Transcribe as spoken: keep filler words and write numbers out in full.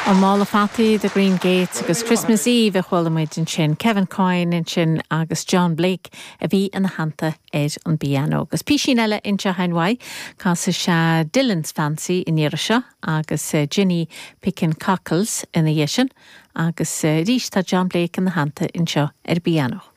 An mála fataí The Green Gates agus Christmas Eve a chuala muid ansin Kevin Coyne ansin agus John Blake a bhí ina theannta ar an bpianó. Agus písín eile anseo uaidh casfaidh sé Dylan's Fancy an iarraidh seo agus uh, Ginny Pickin Cockles ina dhiaidh sin agus uh, arís tá John Blake ina theannta anseo ar pianó.